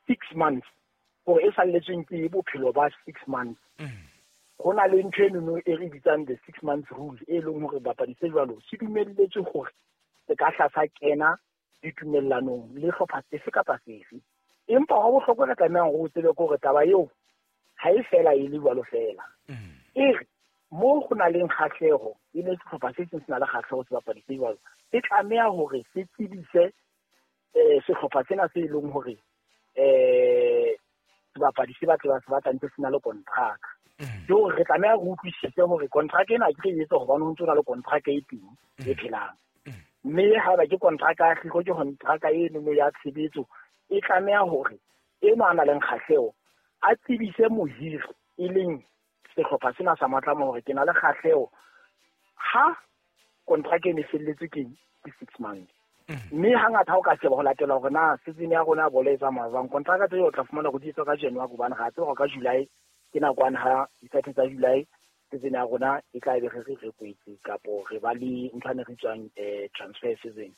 6 months, gore e salletsweng ke bophelo ba 6 months. Go na le ntho enono e re bitsang the 6 months rule, e leng hore bapadi se jwalo se dumelletswe hore se ka hla sa kena ditumellanong le hlopha sefe kapa sefe. Empa wa bohlokwa re tlamehang go tsebe ke hore taba eo ha e fela e le jwalo fela. E re mo go na leng kgahleho, e le sehlopha se seng se na le kgahleho sebapadi se jwalo, se tlameha hore se tsebise sehlopha sena se e leng hore sebapadi se batla se batla ntse se na le kontraka. Ke hore re tlameha re utlwisise hore kontraka ena ke re etsa hobane ho ntso na le kontraka e teng e phelang. Mme haeba ke kontraka ya hliko, ke kontraka eno ya tshebetso, e tlameha hore eno a nang le kgahleho a tsebise mohiri, e leng sehlopha sena sa Matlama, hore ke na le kgahleho ha kontraka eno e felletswe ke 6 months. Mme hangata ha o ka sheba ho latela hore na season ya rona ya bolo e tsamaya jwang, kontraka tse o tla fumana hore di etswa ka January, hobane re a tseba hore ka July ke nakwane ha di-30 tsa July season ya rona e tla be re kwetse kapo re ba le ntho ane re tswang transfer season.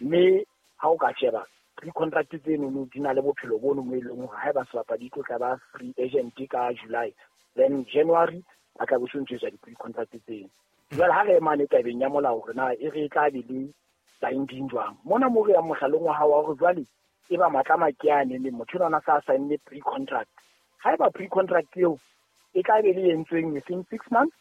Mme ha o ka sheba pre-contract tsenono, di na le bophelo bono mo e leng hore haeba sebapadi e tlo tla ba free agent ka July, then January ba tla bo se ntse etswa di-pre-contract tseno. Jwale ha re emane tabeng ya molao hore na e re e tla be le binding jwang mona mo re yang mohlaleng wa hao wa hore jwale e ba Matlama ke ane le motho enwa sa saenne pre-contract, haeba pre-contract eo e tla be le entsweng within 6 months,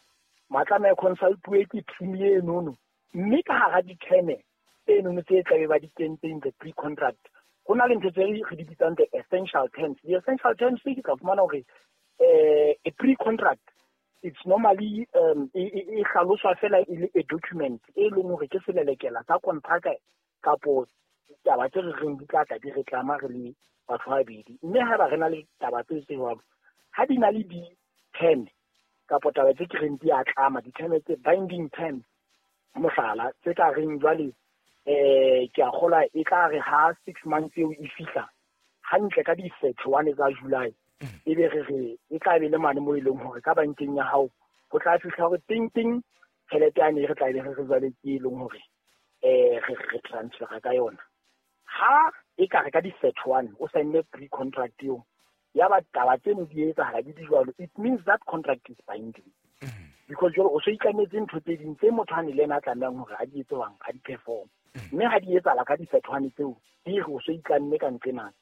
Matlama e consultuwe ke team enono, mme ka hara di-term tsenono tse tlabe ba di kentseng the pre-contract, ho na le ntho tse re di bitsang the essential terms. The essential terms ke tla fumana hore a pre-contract, it's normally e hlaloswa fela e le a document e leng hore ke selelekela sa kontraka kapo taba tse re reng di tla tla di re tlama re le batho ba babedi. Mme haeba re na le taba tse jwalo, ha di na le di-term kapo taba tse ke reng di a tlama, di-term tse binding terms, mohlala tse ka reng jwale ke a kgolwa e tla re ha 6 months eo e fihla hantle ka di-31 tsa July, e be re e tla be le mane mo e leng hore ka bankeng ya hao ho tla fihla hore ting ting tjhelete yane e re tla be re jwale ke e leng hore re transfera ka yona. Ha e ka re ka di-31 o saenne pre-contract eo, ya ba taba tseno di etsahala di di jwalo, it means that contract is binding, because jwale o so itlametse ntho tse ding tse motho a ne le ena a tlamehang hore a di etse jwang, a di perform. Mme ha di etsahala ka di-31 tseo, di re o so itlamme ka nqenana.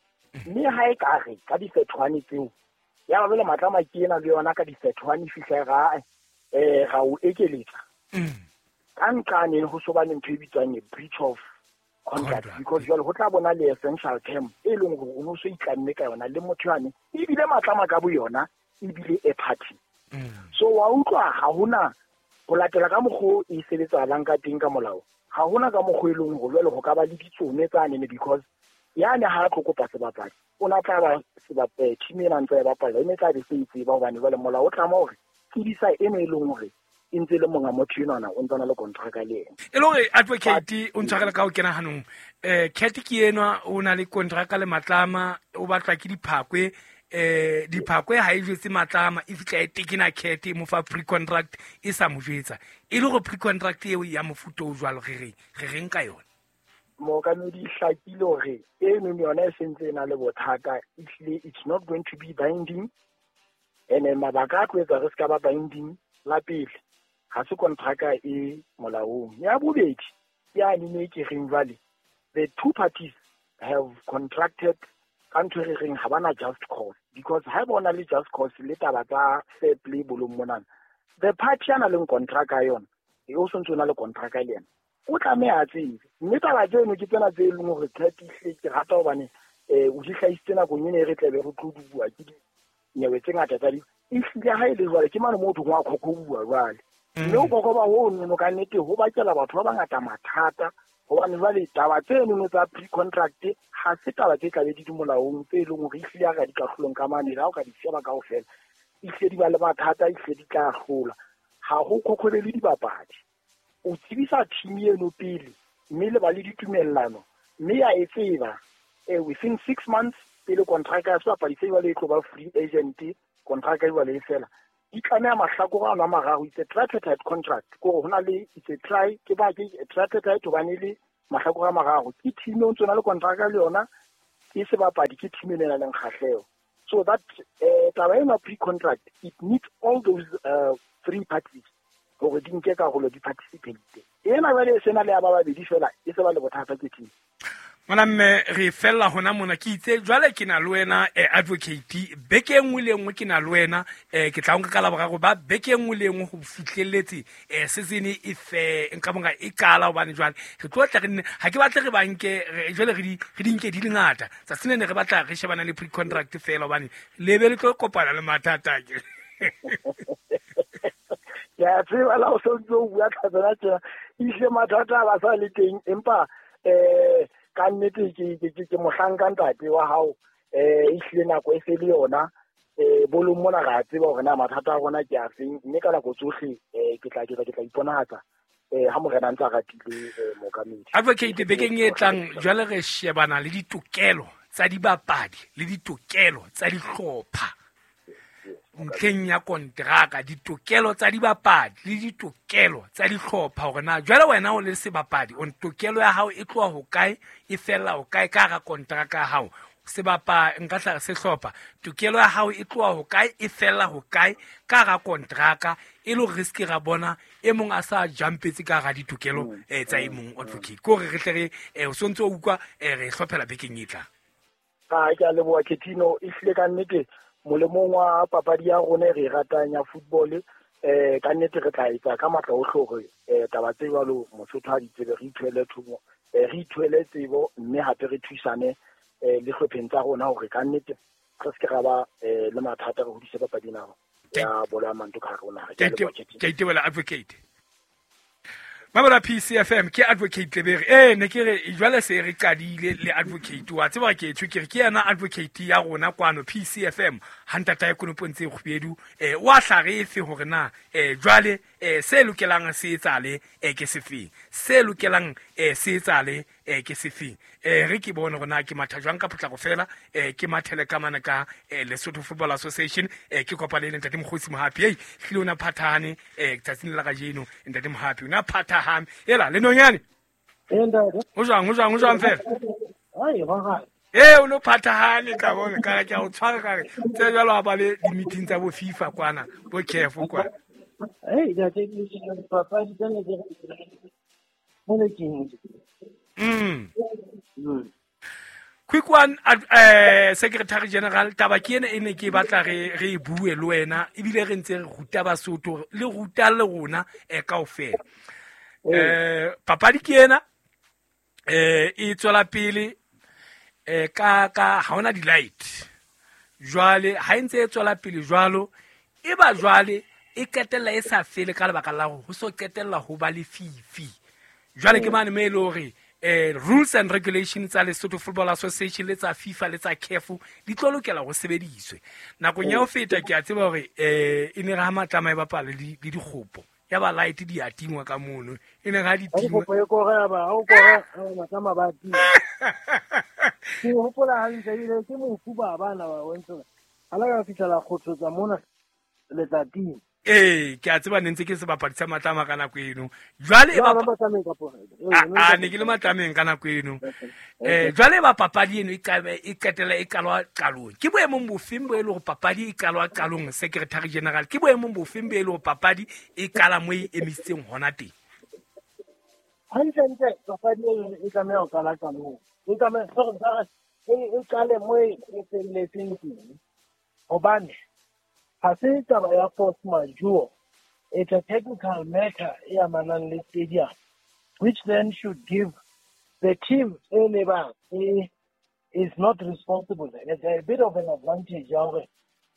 Mme ha e ka re ka di-31 tseo ya ba jwale Matlama ke ena le yona ka di-31 fihla ra ra o ekeletsa ka nqane, ho so ba le ntho e bitswang a breach of contract, because jwale ho tla bona le essential term e leng hore o no so itlamme ka yona le motho yane, ebile Matlama ka bo yona ebile a party. So wa utlwa, ha hona ho latela ka mokgo e sebetsahalang ka teng ka molao, ha hona ka mokgo e leng hore jwale ho ka ba le ditsone tsanene, because yane ha a tlo kopa sebapadi, o na tla ba team ena ntse e bapala, e ne tla be se e tseba, hobane jwale molao o tlama hore tsebisa eno e leng hore e ntse e le monga motho enwana, o ntse na le kontraka le ena. E le hore advocate o ntshwarela ka ho kena hanong, cat ke enwa o na le kontraka le Matlama, o batlwa ke Diphakwe. Diphakwe ha e jwetse Matlama, e fihla e tekena cat, e mo fa pre-contract e sa mo jwetsa. E le hore pre-contract eo ya mofuta o jwalo, re reng ka yona? Mookamedi, hlakile hore eno yona e sentse e na le bothata. Ehlile it's not going to be binding, and mabaka a tlo etsa re se ka ba binding, la pele, ha se kontraka e molaong. Ya bobedi, ke yane ne ke reng jwale the two parties have contracted ka ntho e re reng ha bana just cause, because ha e bona le just cause le taba tsa fair play bolong monana, the party a na leng kontraka yona e o sontse o na le kontraka le yena, o tlameha a tsebe. Mme taba tseno ke tsena tse e leng hore cat ehlile ke rata hobane o di hlahisitse nakong ena e re tlabe re tlo bua ke dinyewe tse ngata tsa di ehlile. Ha e le jwale ke mane moo thong wa khokhobuwa jwale, mme ho kokoba ho nono ka nnete ho bakela batho ba bangata mathata, hobane jwale taba tsenono tsa pre-contract ha se taba tse tlabe di di molaong tse e leng hore ehlile ha re di kahlolong ka mane. Ha o ka di sheba kaofela, ehlile di ba le mathata, ehlile di tla hlola. Ha ho khokhobele dibapadi, o tsebisa team eno pele, mme le ba le ditumellano, mme ya e tseba within 6 months pele contract ya sebapadi se jwale e tlo ba free agent, contract e jwale e fela, di tlameha mahlakore ano a mararo. It's a tripartite contract, ke hore ho na le, it's a tri, ke ba ke tripartite hobane le mahlakore a mararo, ke team o ntso na le contract le yona, ke ke sebapadi ke team e nang le kgahleho. So that taba ena pre-contract, it needs all those three parties hore di nke karolo, di participate. Ena jwale e sena le ya ba babedi fela, e se ba le bothata ke team. Ngwana mme re fella hona mona, ke itse jwale ke na le wena advocate beke e nngwe le nngwe ke na le wena, ke tla nka ka laboraro ba beke e nngwe le nngwe ho fihlelletse season e fe nka monga e qala, hobane jwale re tlo tla re nne ha ke batle re banke jwale re di nke di le ngata tsatsing lena, re batla re shebana le pre-contract fela hobane le be le tlo kopana le mathata ke. Ke a tseba la o so ntse o bua ka tsona tjena, ehlile mathata a ba sa le teng, empa ka nnete ke mohlanka ntate wa hao, ehlile nako e se le yona, bolong mona re a tseba hore na mathata a rona ke a feng, mme ka nako tsohle ke tla iponahatsa ha morena a ntse a ratile mookamedi. Advocate, bekeng e tlang jwale re shebana le ditokelo tsa dibapadi le ditokelo tsa dihlopha ntlheng ya kontraka, ditokelo tsa dibapadi le ditokelo tsa dihlopha, hore na jwale wena o le sebapadi o tokelo ya hao e tloha ho kae, e fella ho kae ka hara kontraka ya hao, sebapa nka tla sehlopha tokelo ya hao e tloha ho kae, e fella ho kae ka hara kontraka, e le hore re se ke ra bona e mong a sa jumpetse ka hara ditokelo tsa e mong. Advocate, ke hore re tle re o sontse o utlwa re hlophela bekeng e tlang. Ke a leboha Ketino, ehlile ka nnete molemong wa papadi ya rona e re e ratang ya football, ka nnete re tla etsa ka matla ohle hore taba tse jwalo Mosotho ha di tsebe, re ithuele thomo, re ithuele tsebo, mme hape re thusane le hlopheng tsa rona hore ka nnete re se ke ra ba le mathata, re hodise papadi ena ya bolo ya maoto ka hare ho naha. Ke itebohela advocate. Mamela PCFM ke advocate Lebere. Ne ke re jwale se re qadile le advocate wa tseba ke tjho ke re ke yena advocate ya rona kwano PCFM ha ntata ya konopo ntse kgubedu wa hlarefe hore na jwale se lokelang se etsale ke sefeng, se lokelang se etsale ke sefeng. Re ke bone hore na ke matha jwang ka potlako fela, ke mathele ka mana ka Lesotho Football Association, ke kopane le ntate Mokgosi Mohapi. Ei hlile ona phathahane tsatsing la kajeno ntate Mohapi ona phathahane ela le nonyane. Ho jwang fela? Ai ba o no phathahane ka bona ka ke o tshwara ka re tse jwalo ha ba le di-meeting tsa bo FIFA kwana bo CAF kwana. Ei ntate papadi tsena ke mole ke. Quick one, Secretary General, taba ke ena e ne ke batla re e bue le wena, ebile re ntse re ruta Basotho le ruta le rona kaofela. Papadi ke ena e tswela pele ka ha hona di-light. Jwale ha e ntse e tswela pele jwalo, e ba jwale e qetella e sa fele ka lebaka la hore ho so qetella ho ba lefifi. Jwale ke mane mo e le hore rules and regulations tsa Lesotho Football Association le tsa FIFA le tsa CAF di tlo lokela ho sebediswe. Nakong ya ho feta ke a tseba hore e ne re ha matlama e bapala le dikgopo ya ba light di a tingwa ka mono, e ne ha di tingwa e kore ba o kore matlama ba tingwa. Ke hopola hantle ile ke mofu ba bana ba wentse ha la ka fihla kgotsotsa mona letsatsing. Ke a tseba ne ntse ke sebapadi sa matlama ka nako eno. Jwale e ba a ne ke le matlameng ka nako eno. Jwale ba papadi eno e qetela e qalwa qalong. Ke boemong bofeng bo e le hore papadi e qalwa qalong, Secretary General? Ke boemong bofeng bo e le hore papadi e qala mo e emisitseng hona teng? Hantle papadi eno e tlameha ho qala qalong. E tlameha e qale mo e felletseng teng. Hobane ha se taba ya force majeure, it's a technical matter e amanang le stadium, which then should give the team e lebang is not responsible. It's a bit of an advantage.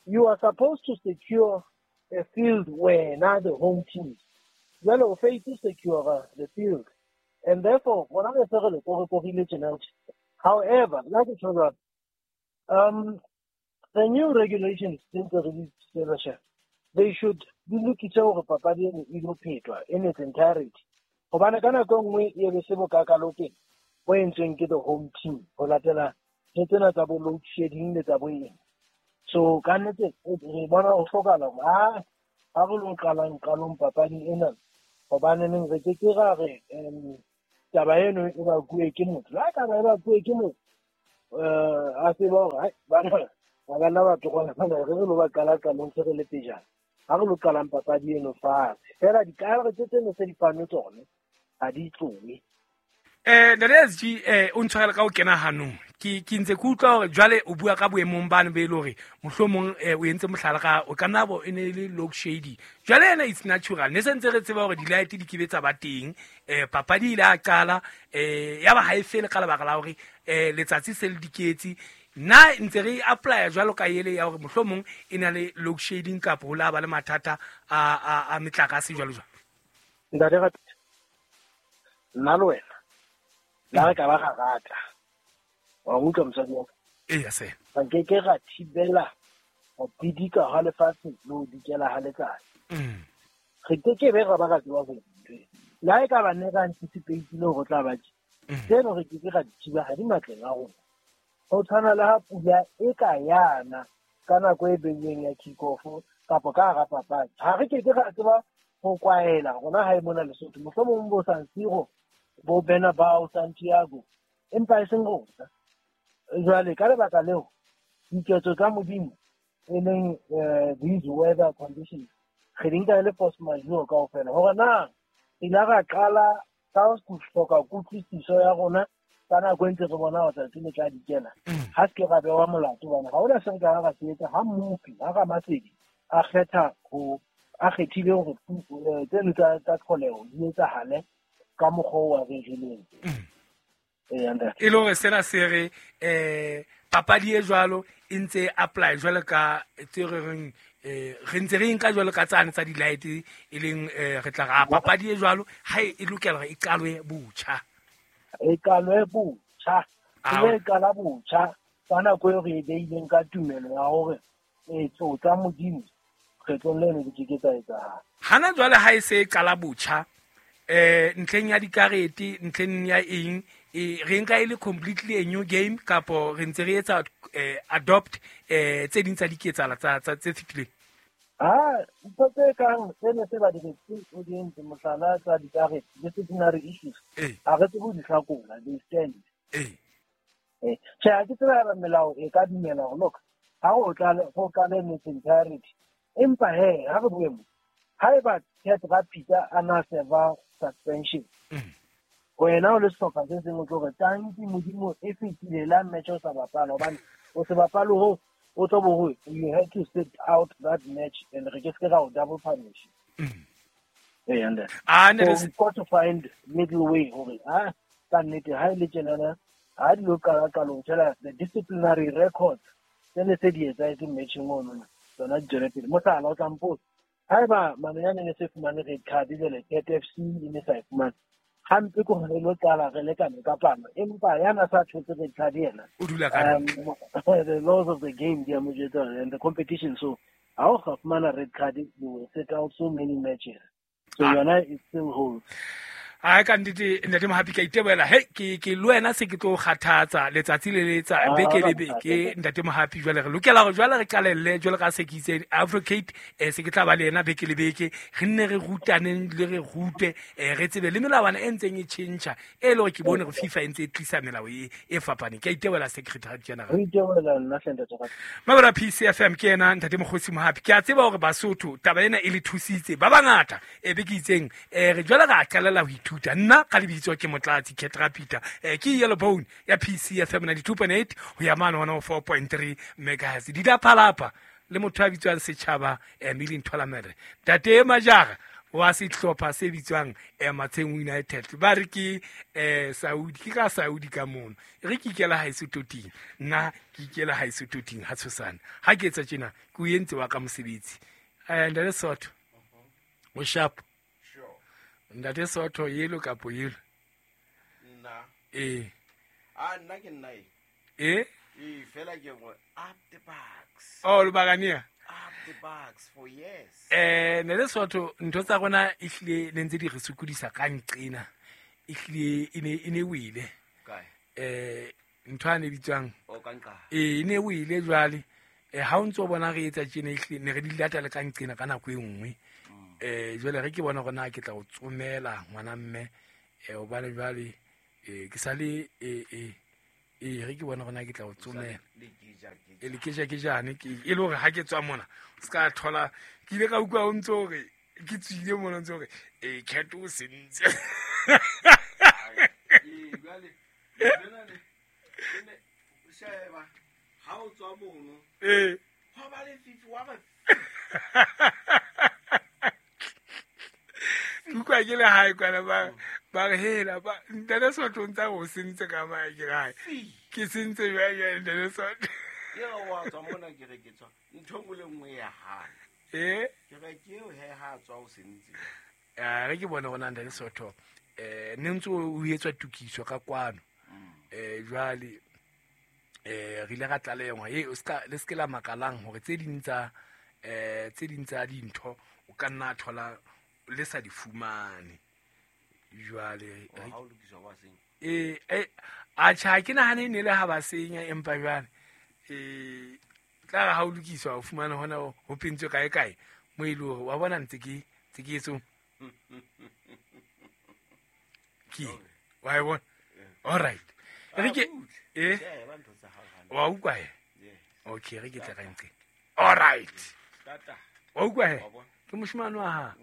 You are supposed to secure a field where now the home team. Jwale o fail to secure the field, and therefore however, like it was, the new regulations since the release, they should be looking at papadi e ilo phetwa in its entirety. Hobane ka nako e nngwe e be se bokakalokeng bo entsweng ke the home team ho latela ntho tsena tsa bo load shedding le tsa bo eng. So ka nnete re bona ho hlokahala hore ha re lo qalang qalong papadi ena, hobaneneng re ke ke ra re taba eno e bakuwe ke motho. La taba e bakuwe ke motho, A tseba hore bana ba ka nna ba tlokola re re lo ba qala qalong se re le pejana. Ha re lo qalang papadi eno fatshe. Feela dikarete tseno se di fanwe tsone ha di tlohe. Ntate SG, o ntshwarele ka ho kena hanong. Ke ntse ke utlwa hore jwale o bua ka boemong bane be le hore mohlomong o entse mohlala ka o ka nna bo e ne e le load shedding. Jwale ena it's natural. Ne se ntse re tseba hore di-light di kebe tsa ba teng. Papadi ile a qala ya ba ha e fele ka lebaka la hore letsatsi se le diketsi. Nna ntse re apply jwalo ka ele ya hore mohlomong e na le load shedding kapa ho la ba le mathata a metlakase jwalo jwalo. Ntate Rapitsa, nna le wena la re ka ba ra rata wa utlwa mosadi wa ka. Eya se. Re ke ke ra thibela ho bidika ha lefatshe le ho dikela ha letsatsi. Re ke ke be ra ba ra tseba ho ntwe. Le ha e ka ba ne re anticipate-ile hore tla ba tje. Tseno re ke ke ra di thiba ha di matleng a rona. Ho tshwana le ha pula e ka yana ka nako e beilweng ya kick off kapa ka hara papadi. Ha re ke ke ra tseba ho kwaela rona ha e mona Lesotho. Mohlomong bo San Siro, bo Bernabeu, Santiago, empa e seng rona. Jwale ka lebaka leo diketso tsa Modimo e leng these weather conditions re di nka e le force majeure kaofela. Hore na ile ra qala ka ho hloka kutlwisiso ya rona ka nako e ntse re bona hore tsatsi le tla dikela. Ha se ke ra bewa molato hobane ha hona se re ka ra se etsa ha mmopi, ha Ramasedi a kgetha ho a kgethile hore tseno tsa tlholeho di etsahale ka mokgwa oo a rerileng. E le hore sena se re papadi e jwalo e ntse apply jwalo ka tse re reng re ntse re nka jwalo ka tsane tsa di-light e leng re tla ra papadi e jwalo ha e lokela hore e qalwe botjha. E qalwe botjha. E qala botjha ka nako eo re e beileng ka tumelo ya hore tso tsa Modimo kgetlong leno di ke ke tsa etsahala. Hana jwale ha e se e qala botjha ntlheng ya dikarete, ntlheng ya eng, re nka e le completely a new game kapo re ntse re etsa adopt tse ding tsa diketsahalo tsa tse fetileng? Ha ntho tse kang sena se ba di o di entse mohlala tsa dikarete, disciplinary issues, ha re tsebe ho di hlakola, they stand. Tjhe, ha ke tsebe haeba melao e ka dumela hore look, ha ho qale in its entirety. Empa he, ha re bue mo, haeba Cat Rapitsa a na serve suspension, wena o le sehlopha se seng o tlo re tanki Modimo e fetile la match o sa bapala hobane o se bapale ho o tlo bo ho you had to sit out that match and re ke se ra o double punish. So we've got to find middle way hore ha ka nnete ha ile tjenana ha di lo qala qalong tjela the disciplinary records tsene se di etsahetse matching ono tsona di tswele pele. Mohlala o tla mpotsa haeba Mamenyane ne se fumane red card jwale Cat FC e ne sa e fumane hampe ke hore lo qala re lekane ka palo empa yana sa thotse red card yena o dula ka the laws of the game di a mo jwetsa and the competition, so ha o ka fumana red card you will sit out so many matches, so yona it still holds. Ai ka nnete ntate Mohapi ka iteboela he ke le wena se ke tlo kgathatsa letsatsi le letsa beke le beke ntate Mohapi. Jwale re lokela hore jwale re qalelle jwale ka se ke itse advocate se ke tla ba le yena beke le beke re nne re rutaneng le re rute re tsebe le melawana e ntseng e tjhentjha e le hore ke bone hore FIFA e ntse e tlisa melao e fapaneng. Ke a iteboela Secretary General. Re iteboela nna hle ntate Mohapi. Mabra PCFM ke yena ntate Mokgosi Mohapi. Ke a tseba hore Basotho taba ena e le thusitse ba bangata e be ke itseng re jwale ra qalela ho ithuta. Nna ka lebitso ke Motlatsi Cat Rapita, ke Yellow Bone ya PCFM 92.8 ho ya mane 104.3 megahertz. Di la phalapha le motho a bitswang Setjhaba Milling Tholamere, Ntate Majara wa sehlopha se bitswang Matsheng United ba re ke Saudi, ke ka Saudi ka mono re ke ikela haeso toting, nna ke ikela haeso toting ha tshosane ha ke etsa tjena ke o entse wa ka mosebetsi. Ntate Sotho o sharp. Ntate Sotho yelo kapo yelo? Nna. Nna ke nna e. Eh? Fela ke go up the bucks. Oh, le bagania. Up the bucks for years. Ntate Sotho ntho tsa rona ehlile ne ntse di re sokodisa ka nqena. Ehlile e ne wile. Kae? Ntho a ne bitswang. O ka nqa. E ne wile jwale. Ha o ntso bona re etsa tjena ehlile ne re di lata le ka nqena ka nako e nngwe. Jwale re ke bona hore na ke tla o tsomela ngwana mme hobane jwale ke sale Ee, re ke bona gona ke tla o tsomela. E le keja-kejane ke e le hore ha ke tswa mona o se ka thola ke ile ka utlwa o ntse hore ke tswile mona o ntse hore ee cat o sentse. Ee, jwale lena le ne sheba ha o tswa mono. Ee. Hwa ba lefifi wa ba Ke utlwa ke le hae kwana ba re hela ba ntate Sotho o ntsa re o sentse ka mae ke re ke sentse jwang jwale ntate Sotho. Ke re wa tswa mona ke re ke tswa ntho e nngwe le nngwe ya hana. Ee. Ke re ke eo he ha tswa o sentse. Re ke bone gona ntate Sotho ne ntse o etswa tokiso ka kwano. Jwale re ile ra tlalehwa e o ska le ske la makalang hore tse ding tsa tse ding tsa dintho o ka nna thola le sa di fumane. Jwale Ha o lokiswa wa senya. Atjha ha ke nahane e ne le ha ba senya empa jwale tla re ha o lokiswa o fumane hona ho pentswe kae kae mo e le hore wa bona ntse ke etso ke wa e bona. All right. Re ke wa utlwa he? Okay, re ke tle ka nqe. All right. Wa utlwa he? Ke moshemane wa ha.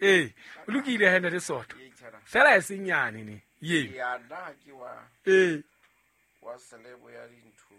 Ee, o lokile he ntate Sotho. Fela e seng nyane ne. Ye. Ya nna ke wa. Ee. Wa selebo ya dintho.